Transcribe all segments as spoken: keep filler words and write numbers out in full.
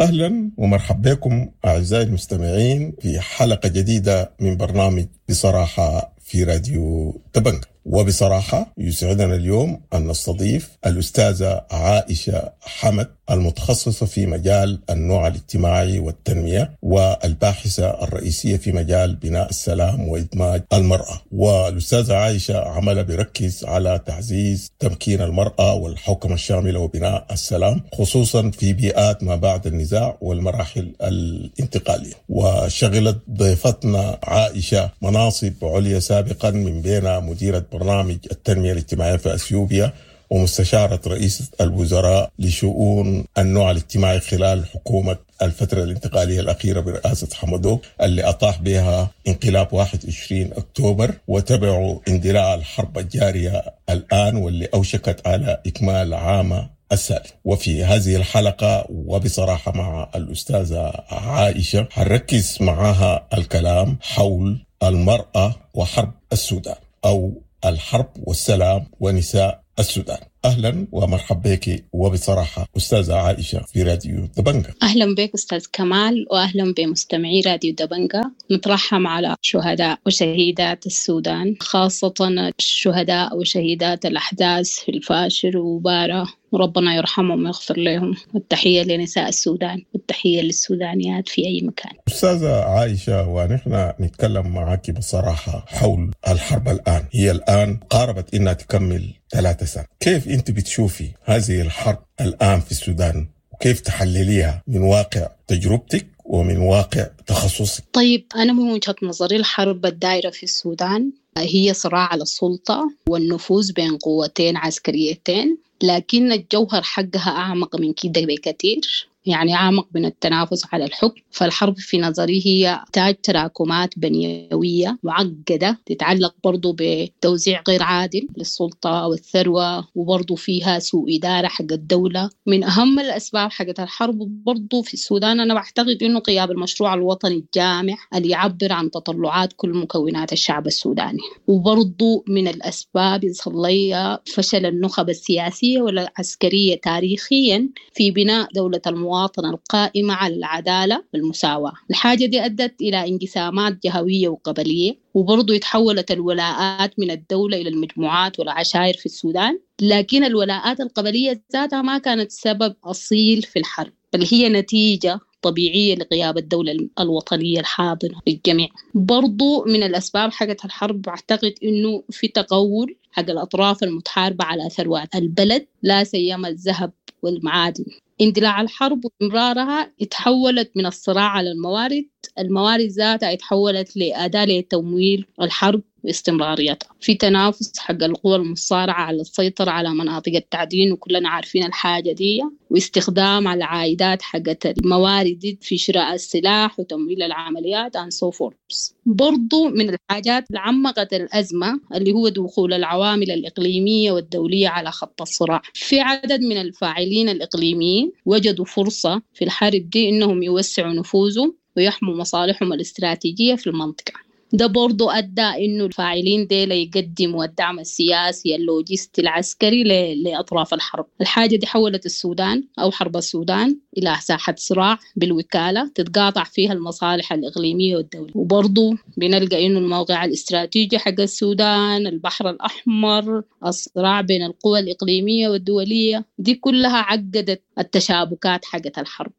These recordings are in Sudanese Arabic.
أهلا ومرحبا بكم أعزائي المستمعين في حلقة جديدة من برنامج بصراحة في راديو دبنجا. وبصراحة يسعدنا اليوم أن نستضيف الأستاذة عائشة حمد، المتخصصة في مجال النوع الاجتماعي والتنمية، والباحثة الرئيسية في مجال بناء السلام وإدماج المرأة. والأستاذة عائشة عملها بيركز على تعزيز تمكين المرأة والحوكمة الشاملة وبناء السلام، خصوصا في بيئات ما بعد النزاع والمراحل الانتقالية. وشغلت ضيفتنا عائشة مناصب عليا سابقا، من بينها مديرة برنامج التنمية الاجتماعية في أثيوبيا، ومستشارة رئيس الوزراء لشؤون النوع الاجتماعي خلال حكومة الفترة الانتقالية الأخيرة برئاسة حمدوك، اللي أطاح بها انقلاب واحد وعشرين أكتوبر، وتبعوا اندلاع الحرب الجارية الآن واللي أوشكت على إكمال عام السالف. وفي هذه الحلقة وبصراحة مع الأستاذة عائشة هنركز معها الكلام حول المرأة وحرب السودان، أو الحرب والسلام ونساء السودان. أهلا ومرحبا بك وبصراحة أستاذة عائشة في راديو دبنجا. أهلا بك أستاذ كمال، وأهلا بمستمعي راديو دبنجا. نترحم على شهداء وشهيدات السودان، خاصة الشهداء وشهيدات الأحداث في الفاشر وبارة، وربنا يرحمهم ويغفر لهم. والتحية لنساء السودان والتحية للسودانيات في أي مكان. أستاذة عائشة، ونحن نتكلم معك بصراحة حول الحرب الآن، هي الآن قاربت إنها تكمل ثلاثة سنة. كيف أنت بتشوفي هذه الحرب الآن في السودان، وكيف تحلليها من واقع تجربتك ومن واقع تخصصك؟ طيب، أنا من وجهة نظري الحرب الدائرة في السودان هي صراع على السلطة والنفوذ بين قوتين عسكريتين، لكن الجوهر حقها أعمق من كده بكثير، يعني أعمق من التنافس على الحكم. فالحرب في نظري هي تاج تراكمات بنيوية معقدة تتعلق برضو بتوزيع غير عادل للسلطة والثروة، وبرضو فيها سوء إدارة حق الدولة. من أهم الأسباب حقت الحرب برضو في السودان أنا بعتقد إنه غياب المشروع الوطني الجامع اللي يعبر عن تطلعات كل مكونات الشعب السوداني. وبرضو من الأسباب يصلي فشل النخب السياسية والعسكرية تاريخيا في بناء دولة المواطنة القائمة على العدالة والمساواة. الحاجة دي أدت إلى انقسامات جهوية وقبلية، وبرضو تحولت الولاءات من الدولة إلى المجموعات والعشائر في السودان. لكن الولاءات القبلية ذاتها ما كانت سبب أصيل في الحرب، بل هي نتيجة طبيعية لغياب الدولة الوطنية الحاضنة للجميع. برضو من الأسباب حقت الحرب أعتقد إنه في تقول حق الأطراف المتحاربة على ثروات البلد، لا سيما الذهب والمعادن. اندلاع الحرب وإمرارها اتحولت من الصراع على الموارد، الموارد ذاتها اتحولت لأداة لتمويل الحرب واستمراريتها. في تنافس حق القوى المصارعة على السيطرة على مناطق التعدين، وكلنا عارفين الحاجة دي، واستخدام العائدات حقت الموارد في شراء السلاح وتمويل العمليات and so forth. برضو من الحاجات اللي عمقت الأزمة اللي هو دخول العوامل الإقليمية والدولية على خط الصراع. في عدد من الفاعلين الإقليميين وجدوا فرصة في الحرب دي إنهم يوسعوا نفوذهم ويحموا مصالحهم الاستراتيجية في المنطقة. ده برضو أدى إنه الفاعلين ديل يقدموا الدعم السياسي اللوجستي العسكري لأطراف الحرب. الحاجة دي حولت السودان أو حرب السودان إلى ساحة صراع بالوكالة تتقاطع فيها المصالح الإقليمية والدولية. وبرضو بنلقى إنه الموقع الاستراتيجي حق السودان، البحر الأحمر، الصراع بين القوى الإقليمية والدولية، دي كلها عقدت التشابكات حقت الحرب.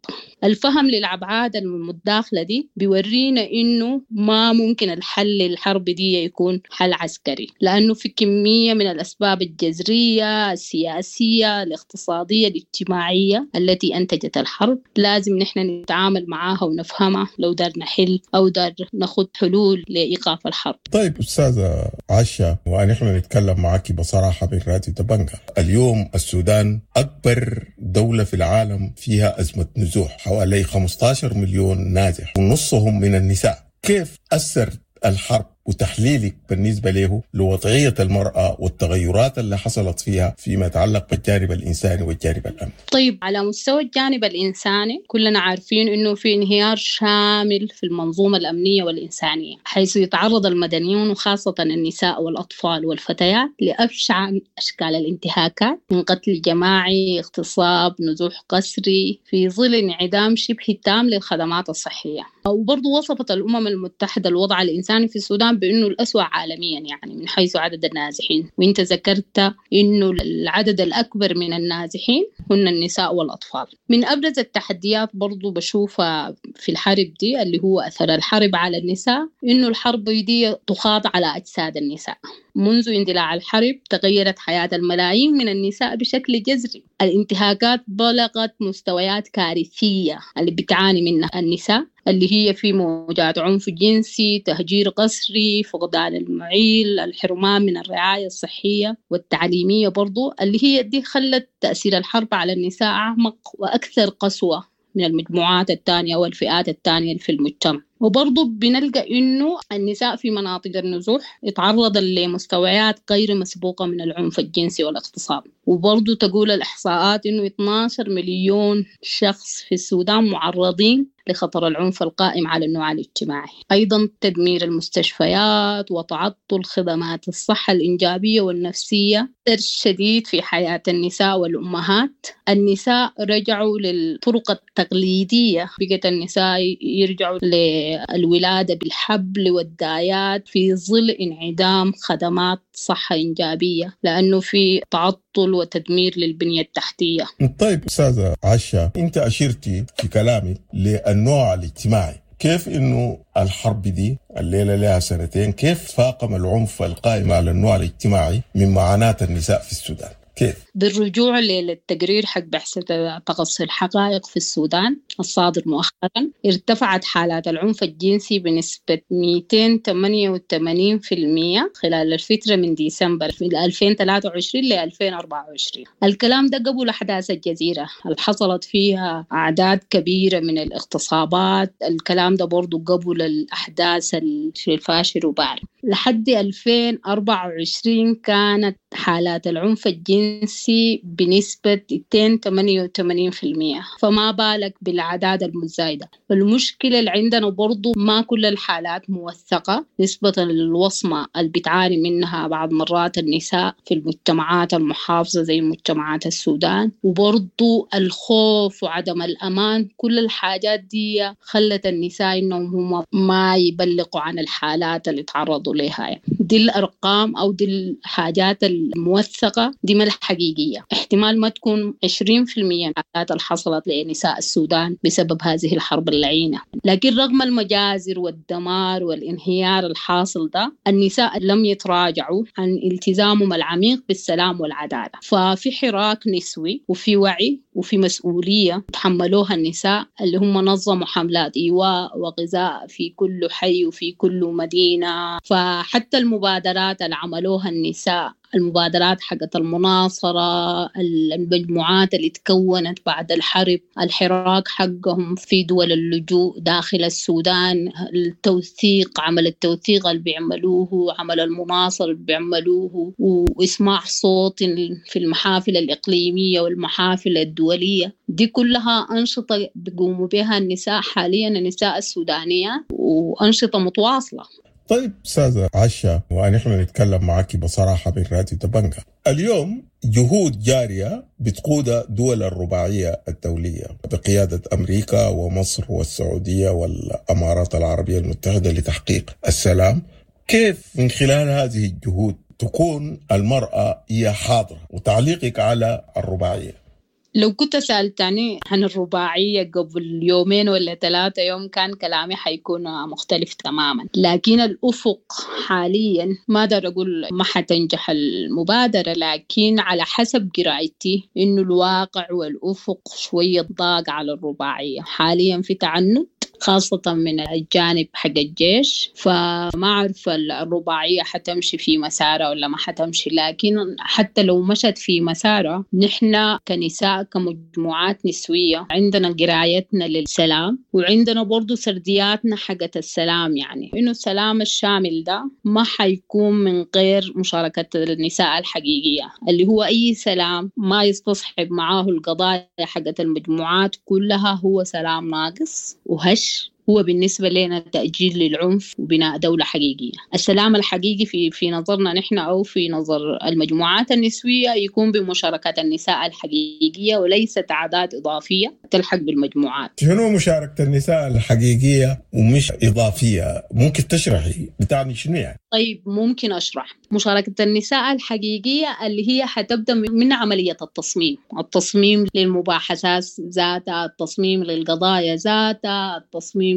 الفهم للأبعاد المتداخلة دي بيورينا إنه ما ممكن الحل للحرب دي يكون حل عسكري، لأنه في كمية من الأسباب الجذرية السياسية الاقتصادية الاجتماعية التي أنتجت الحرب لازم نحن نتعامل معاها ونفهمها لو دار نحل أو دار ناخد حلول لإيقاف الحرب. طيب أستاذة عائشة، ونحن نتكلم معك بصراحة من راديو دبنجا. اليوم السودان أكبر دولة في العالم فيها أزمة نزوح، حوالي خمسة عشر مليون نازح ونصهم من النساء. كيف أثر الحرب وتحليلك بالنسبة له لوضعية المرأة والتغيرات اللي حصلت فيها فيما يتعلق بالجانب الإنساني والجانب الأمني. طيب، على مستوى الجانب الإنساني كلنا عارفين أنه في انهيار شامل في المنظومة الأمنية والإنسانية، حيث يتعرض المدنيون وخاصة النساء والأطفال والفتيات لأبشع أشكال الانتهاكات من قتل جماعي، اغتصاب، نزوح قسري، في ظل انعدام شبه تام للخدمات الصحية. وبرضو وصفت الأمم المتحدة الوضع الإنساني في السودان بأنه الأسوأ عالميا، يعني من حيث عدد النازحين. وانت ذكرت أنه العدد الأكبر من النازحين هن النساء والأطفال. من أبرز التحديات برضو بشوفها في الحرب دي اللي هو أثر الحرب على النساء، إنه الحرب دي تخاض على أجساد النساء. منذ اندلاع الحرب تغيرت حياة الملايين من النساء بشكل جذري. الانتهاكات بلغت مستويات كارثية اللي بتعاني منها النساء، اللي هي في موجات عنف جنسي، تهجير قسري، فقدان المعيل، الحرمان من الرعاية الصحية والتعليمية برضو، اللي هي دي خلت تأثير الحرب على النساء أعمق وأكثر قسوة من المجموعات الثانية والفئات الثانية في المجتمع. وبرضو بنلقى إنه النساء في مناطق النزوح يتعرض لمستويات غير مسبوقة من العنف الجنسي والاغتصاب. وبرضو تقول الإحصاءات إنه اثنا عشر مليون شخص في السودان معرضين لخطر العنف القائم على النوع الاجتماعي. أيضا تدمير المستشفيات وتعطل خدمات الصحة الإنجابية والنفسية أثر شديد في حياة النساء والأمهات. النساء رجعوا للطرق التقليدية، بقت النساء يرجعوا للولادة بالحبل والدايات في ظل انعدام خدمات صحة إنجابية، لأنه في تعطل وتدمير للبنية التحتية. طيب أستاذة عشا، أنت أشرتي في كلامك للنوع الاجتماعي، كيف إنه الحرب دي الليلة لها سنتين كيف فاقم العنف القائم على النوع الاجتماعي من معاناة النساء في السودان؟ كيف؟ بالرجوع للتقرير حق بعثة تقصي الحقائق في السودان الصادر مؤخرا، ارتفعت حالات العنف الجنسي بنسبة مئتين وثمانية وثمانين بالمئة خلال الفترة من ديسمبر ألفين وثلاثة وعشرين ل ألفين وأربعة وعشرين. الكلام ده قبل أحداث الجزيرة اللي حصلت فيها أعداد كبيرة من الاغتصابات، الكلام ده برضو قبل الأحداث في الفاشر وبار. لحد ألفين وأربعة وعشرين كانت حالات العنف الجنسي بنسبة اثنين وثمانية وثمانين بالمئة، فما بالك بالأعداد المتزايدة. والمشكلة اللي عندنا برضو ما كل الحالات موثقة نسبة للوصمة اللي بتعاني منها بعض مرات النساء في المجتمعات المحافظة زي مجتمعات السودان، وبرضو الخوف وعدم الأمان، كل الحاجات دي خلت النساء إنهم هم ما يبلغوا عن الحالات اللي تعرضوا لها. يعني دي الأرقام أو دي الحاجات الموثقة دي ما الحقيقية، احتمال ما تكون عشرين بالمئة الحالات اللي حصلت لنساء السودان بسبب هذه الحرب اللعينة. لكن رغم المجازر والدمار والانهيار الحاصل ده، النساء لم يتراجعوا عن التزامهم العميق بالسلام والعدالة. ففي حراك نسوي وفي وعي وفي مسؤولية تحملوها النساء اللي هم نظموا حملات إيواء وغذاء في كل حي وفي كل مدينة. فحتى المبادرات اللي عملوها النساء، المبادرات حقت المناصرة، المجموعات اللي تكونت بعد الحرب، الحراك حقهم في دول اللجوء داخل السودان، التوثيق، عمل التوثيق اللي بيعملوه، عمل المناصرة اللي بيعملوه، وإسماع صوت في المحافل الإقليمية والمحافل الدولية، دي كلها أنشطة بيقوموا بها النساء حاليا، النساء السودانية، وأنشطة متواصلة. طيب أستاذة عشا، ونحن نتكلم معك بصراحة من راديو دبنجا. اليوم جهود جارية بتقود دول الرباعية الدولية بقيادة أمريكا ومصر والسعودية والأمارات العربية المتحدة لتحقيق السلام. كيف من خلال هذه الجهود تكون المرأة هي حاضرة؟ وتعليقك على الرباعية. لو كنت سألتني عن الرباعية قبل يومين ولا ثلاثة يوم كان كلامي حيكون مختلف تماما، لكن الأفق حاليا ما أقدر أقول ما حتنجح المبادرة، لكن على حسب قراءتي إنه الواقع والأفق شوية ضاق على الرباعية حاليا. في تعنت خاصة من الجانب حق الجيش. فما أعرف الرباعية حتمشي في مسارها ولا ما حتمشي، لكن حتى لو مشت في مسارها نحن كنساء كمجموعات نسوية عندنا قرايتنا للسلام، وعندنا برضو سردياتنا حقت السلام، يعني إنه السلام الشامل ده ما حيكون من غير مشاركة النساء الحقيقية، اللي هو أي سلام ما يستصحب معاه القضايا حقت المجموعات كلها هو سلام ناقص وهش، هو بالنسبة لنا تأجيل للعنف وبناء دولة حقيقية. السلام الحقيقي في في نظرنا نحن أو في نظر المجموعات النسوية يكون بمشاركة النساء الحقيقية وليست أعداد إضافية تلحق بالمجموعات. شنو مشاركة النساء الحقيقية ومش إضافية؟ ممكن تشرحي بتعني شنو يعني؟ طيب ممكن أشرح. مشاركة النساء الحقيقية اللي هي حتبدأ من عملية التصميم، التصميم للمباحثات ذاتها، التصميم للقضايا ذاتها، التصميم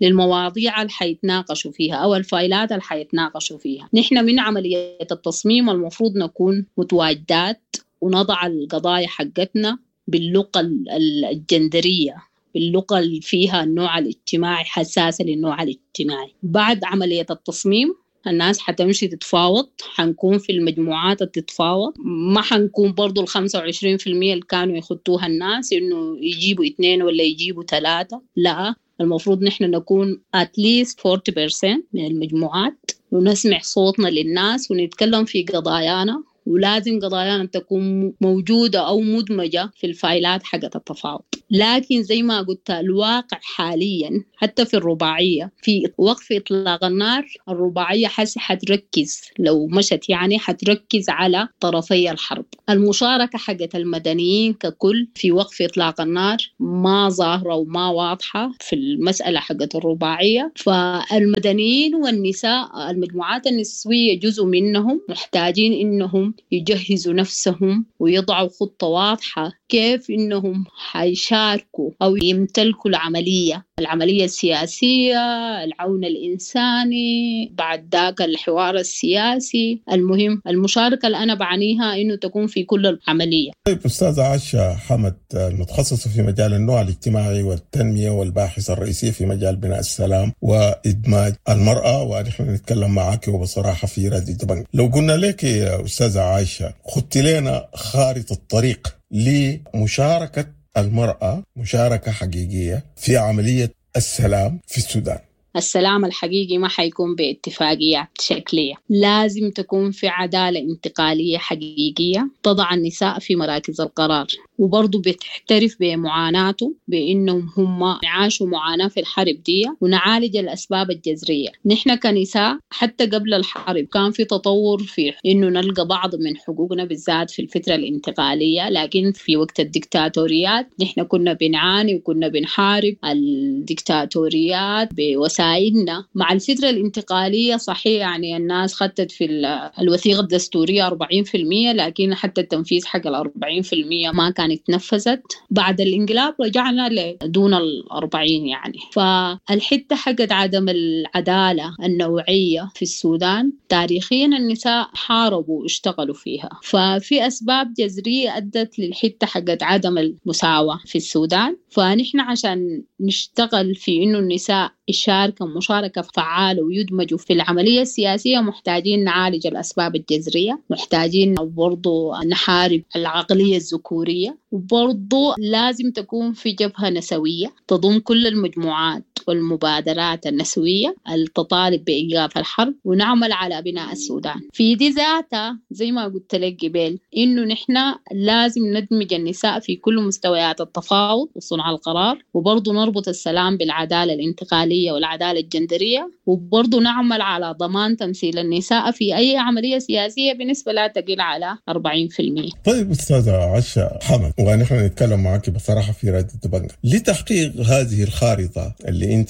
للمواضيع اللي حيتناقشوا فيها أو الفايلات اللي حيتناقشوا فيها. نحن من عملية التصميم المفروض نكون متواجدات ونضع القضايا حقتنا باللغة الجندرية، باللغة اللي فيها النوع الاجتماعي، حساسة للنوع الاجتماعي. بعد عملية التصميم الناس حتمشي تتفاوض، حنكون في المجموعات تتفاوض، ما حنكون برضو الخمسة وعشرين في المية اللي كانوا يخطوها الناس إنه يجيبوا اثنين ولا يجيبوا ثلاثة، لا، المفروض نحن نكون at least forty percent من المجموعات ونسمع صوتنا للناس ونتكلم في قضايانا، ولازم قضايانا تكون موجودة أو مدمجة في الفايلات حقت التفاوض. لكن زي ما قلت الواقع حاليا حتى في الرباعية في وقف إطلاق النار، الرباعية حتركز لو مشت يعني حتركز على طرفي الحرب. المشاركة حقت المدنيين ككل في وقف إطلاق النار ما ظاهرة وما واضحة في المسألة حقت الرباعية. فالمدنيين والنساء المجموعات النسوية جزء منهم محتاجين إنهم يجهزوا نفسهم ويضعوا خطة واضحة كيف إنهم حيشاركوا أو يمتلكوا العملية، العملية السياسية، العون الإنساني، بعد ذاك الحوار السياسي. المهم المشاركة اللي أنا بعنيها إنه تكون في كل العملية. طيب أستاذة عائشة حمد، المتخصصة في مجال النوع الاجتماعي والتنمية والباحثة الرئيسية في مجال بناء السلام وإدماج المرأة، ونحن نتكلم معك وبصراحة في راديو دبنجا. لو قلنا لك يا أستاذة عائشة خدت لنا خارطة الطريق لمشاركة المرأة مشاركة حقيقية في عملية السلام في السودان. السلام الحقيقي ما حيكون باتفاقيات شكلية، لازم تكون في عدالة انتقالية حقيقية تضع النساء في مراكز القرار، وبرضو بتحترف بمعاناته بأنهم هم عاشوا معاناة في الحرب دي، ونعالج الأسباب الجذرية. نحن كنساء حتى قبل الحرب كان في تطور في إنه نلقى بعض من حقوقنا بالذات في الفترة الانتقالية، لكن في وقت الدكتاتوريات نحن كنا بنعاني وكنا بنحارب الدكتاتوريات بوسائلنا. مع الفترة الانتقالية صحيح يعني الناس خدت في الوثيقة الدستورية أربعين بالمئة، لكن حتى التنفيذ حق الأربعين بالمئة ما كان اتنفذت. بعد الانقلاب رجعنا لدون الأربعين يعني. فالحتة حقت عدم العدالة النوعية في السودان تاريخيا النساء حاربوا واشتغلوا فيها، ففي أسباب جذرية أدت للحتة حقت عدم المساواة في السودان. فنحن عشان نشتغل في إنه النساء يشاركوا مشاركة فعالة ويدمجوا في العملية السياسية محتاجين نعالج الأسباب الجذرية، محتاجين برضو نحارب العقلية الذكورية، وبرضو لازم تكون في جبهة نسوية تضم كل المجموعات والمبادرات النسوية التطالب بإيقاف الحرب، ونعمل على بناء السودان. في دي ذاتها زي ما قلت لك قبل إنه نحن لازم ندمج النساء في كل مستويات التفاوض وصنع القرار، وبرضو نربط السلام بالعدالة الانتقالية والعدالة الجندرية، وبرضو نعمل على ضمان تمثيل النساء في أي عملية سياسية بنسبة لا تقل على أربعين بالمئة. طيب أستاذة عائشة حمد، ونحن نتكلم معك بصراحة في راديو دبنجا، لتحقيق هذه الخارطة اللي أنت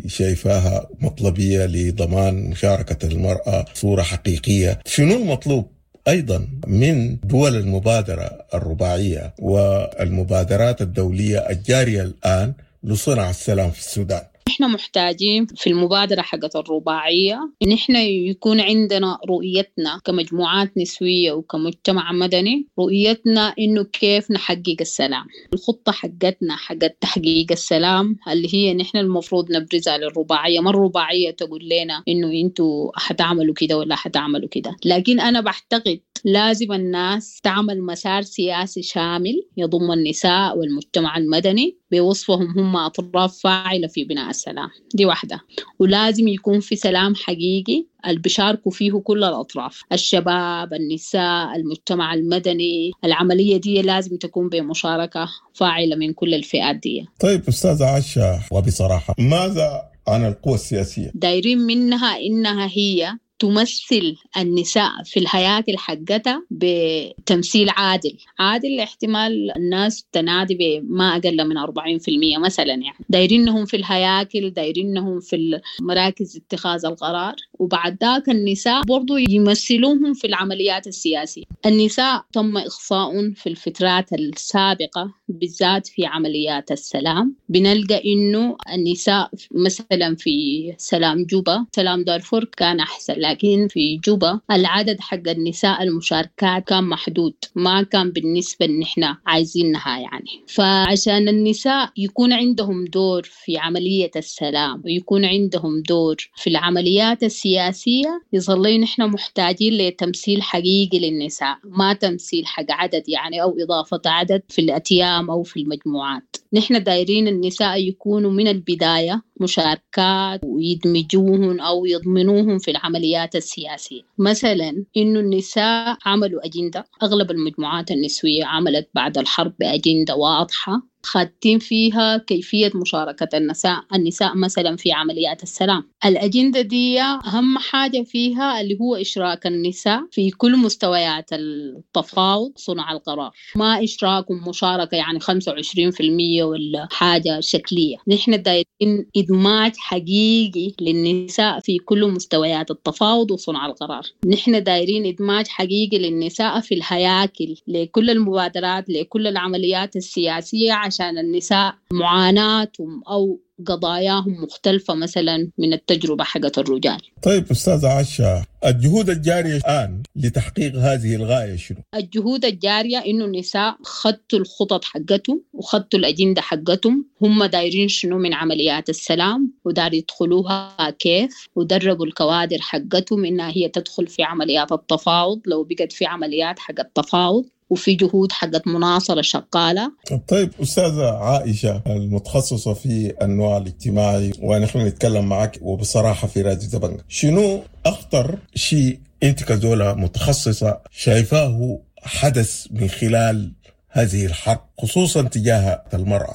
شايفاها مطلبية لضمان مشاركة المرأة صورة حقيقية، شنو المطلوب أيضا من دول المبادرة الرباعية والمبادرات الدولية الجارية الآن لصنع السلام في السودان؟ نحن محتاجين في المبادرة حقت الرباعية نحن يكون عندنا رؤيتنا كمجموعات نسوية وكمجتمع مدني، رؤيتنا إنه كيف نحقق السلام. الخطة حقتنا حقت تحقيق السلام اللي هي نحن المفروض نبرزها للرباعية، ما الرباعية تقول لنا إنه أنتوا حتعملوا كده ولا حتعملوا كده، لكن أنا بعتقد لازم الناس تعمل مسار سياسي شامل يضم النساء والمجتمع المدني بوصفهم هم أطراف فاعلة في بناء السلام. دي واحدة. ولازم يكون في سلام حقيقي اللي بيشاركوا فيه كل الأطراف، الشباب، النساء، المجتمع المدني. العملية دي لازم تكون بمشاركة فاعلة من كل الفئات دي. طيب أستاذة عائشة، وبصراحة ماذا عن القوى السياسية؟ دايرين منها إنها هي تمثل النساء في الهياكل حقتها بتمثيل عادل. عادل احتمال الناس تنادي بما أقل من أربعين بالمئة مثلا، يعني دايرينهم في الهياكل، دايرينهم في مراكز اتخاذ القرار، وبعد ذاك النساء برضو يمثلوهم في العمليات السياسية. النساء تم إخصاء في الفترات السابقة بالذات في عمليات السلام، بنلقى إنه النساء مثلا في سلام جوبا، سلام دارفور كان أحسن، لكن في جوبا العدد حق النساء المشاركات كان محدود، ما كان بالنسبة اللي نحن عايزينها يعني. فعشان النساء يكون عندهم دور في عملية السلام ويكون عندهم دور في العمليات السياسية، يظل نحن محتاجين لتمثيل حقيقي للنساء، ما تمثيل حق عدد يعني أو إضافة عدد في الأتيام أو في المجموعات. نحن دايرين النساء يكونوا من البداية مشاركات ويدمجوهن أو يضمنوهم في العمليات السياسية. مثلا إنه النساء عملوا أجندة، أغلب المجموعات النسوية عملت بعد الحرب بأجندة واضحة خاتين فيها كيفية مشاركة النساء النساء مثلا في عمليات السلام. الأجندة دي أهم حاجة فيها اللي هو إشراك النساء في كل مستويات التفاوض صنع القرار، ما إشراك ومشاركة يعني خمسة وعشرين بالمئة ولا حاجة شكلية. نحن دايرين إدماج حقيقي للنساء في كل مستويات التفاوض وصنع القرار. نحن دايرين إدماج حقيقي للنساء في الهياكل لكل المبادرات لكل العمليات السياسية، عشان النساء معاناتهم أو قضاياهم مختلفة مثلا من التجربة حقت الرجال. طيب أستاذة عائشة، الجهود الجارية الآن لتحقيق هذه الغاية شنو؟ الجهود الجارية إنه النساء خدتوا الخطط حقتهم وخدتوا الأجندة حقتهم، هم دايرين شنو من عمليات السلام ودار يدخلوها كيف، ودربوا الكوادر حقتهم إنها هي تدخل في عمليات التفاوض لو بقت في عمليات حق التفاوض، وفي جهود حقت مناصرة شغالة. طيب أستاذة عائشة المتخصصة في النوع الاجتماعي، ونحن نتكلم معك وبصراحة في راديو دبنجة، شنو أخطر شيء أنت كزولة متخصصة شايفاه حدث من خلال هذه الحرب خصوصا تجاه المرأة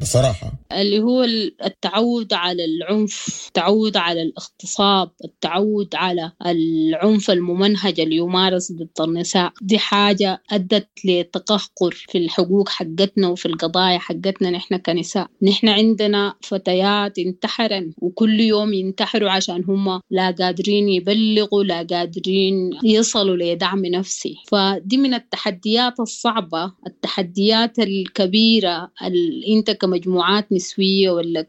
بصراحة؟ اللي هو التعود على العنف، التعود على الاغتصاب، التعود على العنف الممنهج اللي يمارس ضد النساء. دي حاجة أدت لتقهقر في الحقوق حقتنا وفي القضايا حقتنا نحن كنساء. نحن عندنا فتيات انتحرن وكل يوم ينتحروا عشان هم لا قادرين يبلغوا، لا قادرين يصلوا لدعم نفسي. فدي من التحديات الصعبة، التحديات الكبيرة اللي انت كمجموعات نسوية ولا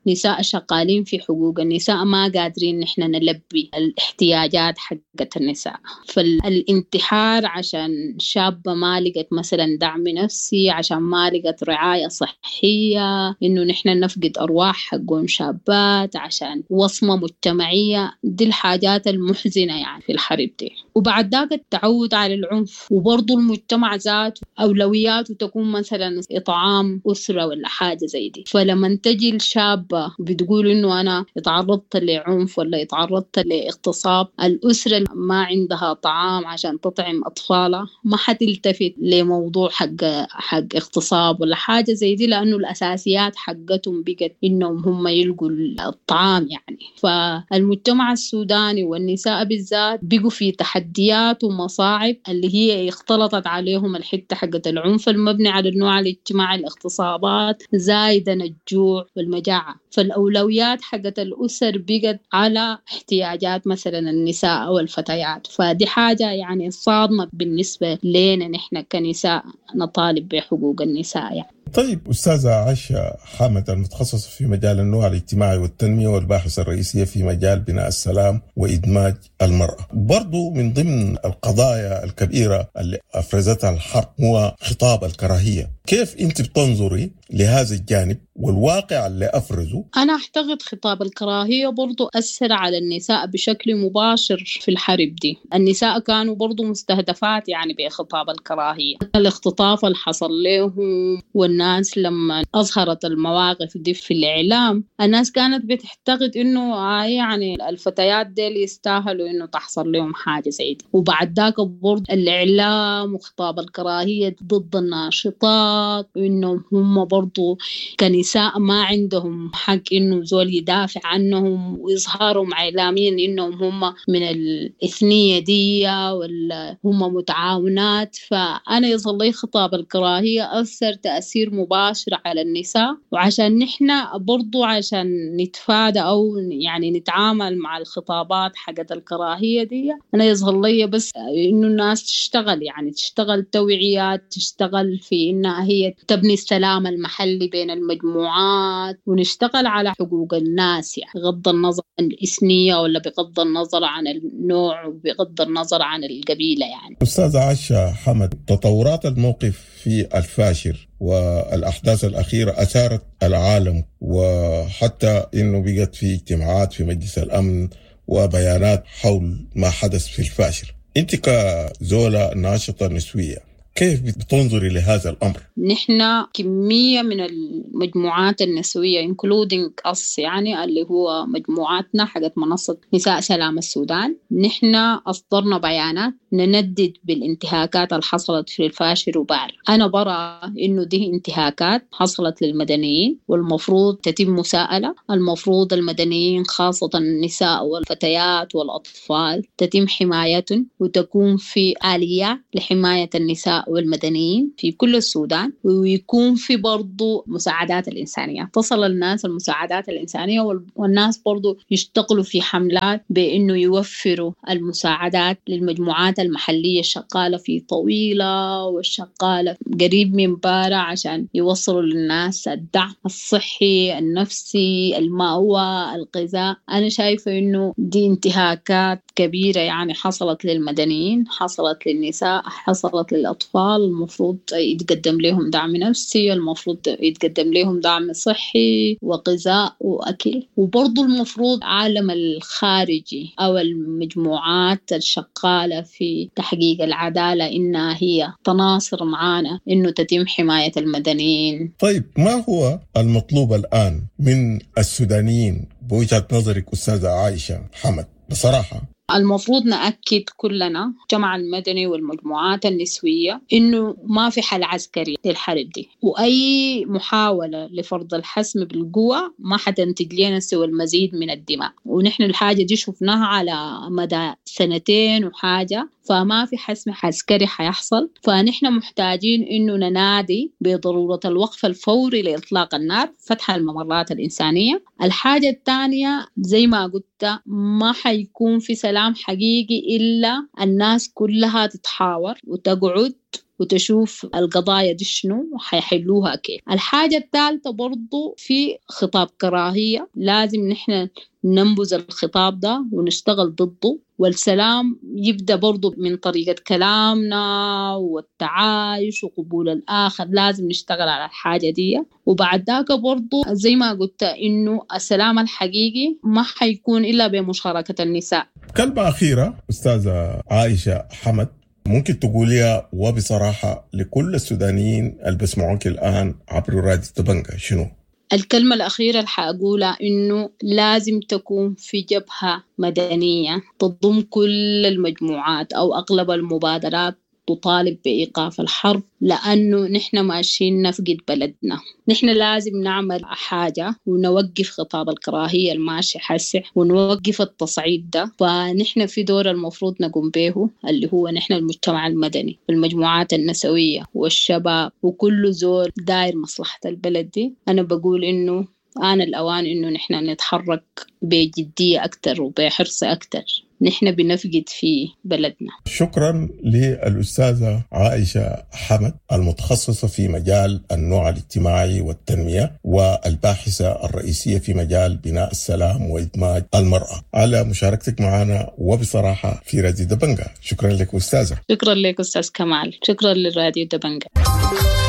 كنساء شغالين في حقوق النساء ما قادرين نحن نلبي الاحتياجات حقت النساء. فالانتحار عشان شابة ما لقت مثلا دعم نفسي، عشان ما لقت رعاية صحية، إنه نحن نفقد أرواح حقهم شابات عشان وصمة مجتمعية، دي الحاجات المحزنة يعني في الحرب دي. وبعد ذاك التعود على العنف، وبرضو المجتمع ذاته أولوياته تكون مثلا إطعام أسرة ولا حاجة زي دي. فلما تجي الشابة بتقول إنه أنا اتعرضت لعنف ولا اتعرضت لاغتصاب، الأسرة ما عندها طعام عشان تطعم أطفالها ما حتلتفت لموضوع حق حق اغتصاب ولا حاجة زي دي، لأنه الأساسيات حقتهم بقت إنهم هم يلقوا الطعام يعني. فالمجتمع السوداني والنساء بالذات بقوا في تحديات ومصاعب اللي هي اختلطت عليهم الحتة حقت العنف المبني على النوع الاجتماعي، الاغتصابات، زايدا الجوع والمجاعة. فالأولويات حقت الأسر بقت على احتياجات مثلا النساء أو الفتيات. فدي حاجة يعني صادمة بالنسبة لنا نحن كنساء نطالب بحقوق النساء يعني. طيب أستاذة عائشة حمد، المتخصصة في مجال النوع الاجتماعي والتنمية والباحثة الرئيسية في مجال بناء السلام وإدماج المرأة، برضو من ضمن القضايا الكبيرة اللي أفرزتها الحرب هو خطاب الكراهية. كيف أنت بتنظري لهذا الجانب والواقع اللي أفرزه؟ أنا أعتقد خطاب الكراهية برضو أثر على النساء بشكل مباشر في الحرب دي. النساء كانوا برضو مستهدفات يعني بخطاب الكراهية، الاختطاف اللي حصل لهم، والناس لما أظهرت المواقف دي في الإعلام الناس كانت بتعتقد إنه آه يعني الفتيات دي يستاهلوا إنه تحصل لهم حاجة زي دي. وبعد ذاك برضو الإعلام وخطاب الكراهية ضد الناشطات، وإنه هم برضو كنساء ما عندهم حق إنه زول يدافع عنهم ويظهروا إعلاميا إنهم هم من الإثنية دي ولا هم متعاونات. فأنا يظل لي خطاب الكراهية أثر تأثير مباشر على النساء، وعشان نحن برضو عشان نتفادى أو يعني نتعامل مع الخطابات حقت الكراهية دي، أنا يظهر لي بس إنه الناس تشتغل، يعني تشتغل توعية، تشتغل في إنها هي تبني السلام المحلي بين المجموعات، ونشتغل على حقوق الناس يعني بغض النظر عن الإثنية ولا بغض النظر عن النوع وبغض النظر عن القبيلة يعني. أستاذة عائشة حمد، تطورات الموقف في الفاشر والأحداث الأخيرة أثارت العالم، وحتى إنه بقت في اجتماعات في مجلس الأمن وبيانات حول ما حدث في الفاشر. أنت كزولة ناشطة نسوية كيف بتنظري لهذا الأمر؟ نحن كمية من المجموعات النسوية including us يعني اللي هو مجموعاتنا حقت منصة نساء سلام السودان، نحن أصدرنا بيانات نندد بالانتهاكات اللي حصلت في الفاشر وبار. أنا برى إنه دي انتهاكات حصلت للمدنيين والمفروض تتم مساءلة، المفروض المدنيين خاصة النساء والفتيات والأطفال تتم حمايتهم، وتكون في آلية لحماية النساء والمدنيين في كل السودان، ويكون في برضو مساعدات الإنسانية تصل الناس المساعدات الإنسانية، والناس برضو يشتغلوا في حملات بأنه يوفروا المساعدات للمجموعات المحلية الشغالة في طويلة والشغالة قريب من بارة عشان يوصلوا للناس الدعم الصحي النفسي المأوى الغذاء. أنا شايفة أنه دي انتهاكات كبيرة يعني حصلت للمدنيين، حصلت للنساء، حصلت للأطفال. المفروض يتقدم لهم دعم نفسي، المفروض يتقدم لهم دعم صحي وغذاء وأكل. وبرضو المفروض العالم الخارجي أو المجموعات الشغالة في تحقيق العدالة إنها هي تناصر معانا إنه تتم حماية المدنيين. طيب ما هو المطلوب الآن من السودانيين بوجهة نظرك أستاذة عائشة حمد بصراحة؟ المفروض نأكد كلنا المجتمع المدني والمجموعات النسوية إنه ما في حل عسكري للحرب دي، وأي محاولة لفرض الحسم بالقوة ما حتنتج لنا سوى المزيد من الدماء، ونحن الحاجة دي شفناها على مدى سنتين وحاجة، فما في حسم عسكري حيحصل. فنحن محتاجين إنه ننادي بضرورة الوقف الفوري لإطلاق النار، فتح الممرات الإنسانية. الحاجة الثانية زي ما قلت ما حيكون في سلام حقيقي إلا الناس كلها تتحاور وتقعد وتشوف القضايا دي شنو وحيحلوها كيف. الحاجة الثالثة برضو في خطاب كراهية، لازم نحن ننبذ الخطاب ده ونشتغل ضده، والسلام يبدأ برضو من طريقة كلامنا والتعايش وقبول الآخر، لازم نشتغل على الحاجة دي. وبعد ذاك برضو زي ما قلت إنه السلام الحقيقي ما حيكون إلا بمشاركة النساء. كلمة أخيرة أستاذة عائشة حمد ممكن تقوليها وبصراحة لكل السودانيين اللي بسمعوك الآن عبر راديو تبنجا شنو؟ الكلمة الأخيرة اللي حأقولها إنه لازم تكون في جبهة مدنية تضم كل المجموعات أو أغلب المبادرات تطالب بإيقاف الحرب، لأنه نحن ماشيين نفقد بلدنا. نحن لازم نعمل حاجة ونوقف خطاب الكراهية الماشي حسع ونوقف التصعيد ده. فنحن في دور المفروض نقوم به اللي هو نحن المجتمع المدني والمجموعات النسوية والشباب وكل زول داير مصلحة البلد دي. أنا بقول إنه آن الأوان إنه نحن نتحرك بجدية أكتر وبحرص أكتر. نحن بنفقد في بلدنا. شكرا للأستاذة عائشة حمد المتخصصة في مجال النوع الاجتماعي والتنمية والباحثة الرئيسية في مجال بناء السلام وإدماج المرأة، على مشاركتك معنا وبصراحة في راديو دبنجة. شكرا لك أستاذة. شكرا لك أستاذ كمال، شكرا للراديو دبنجة.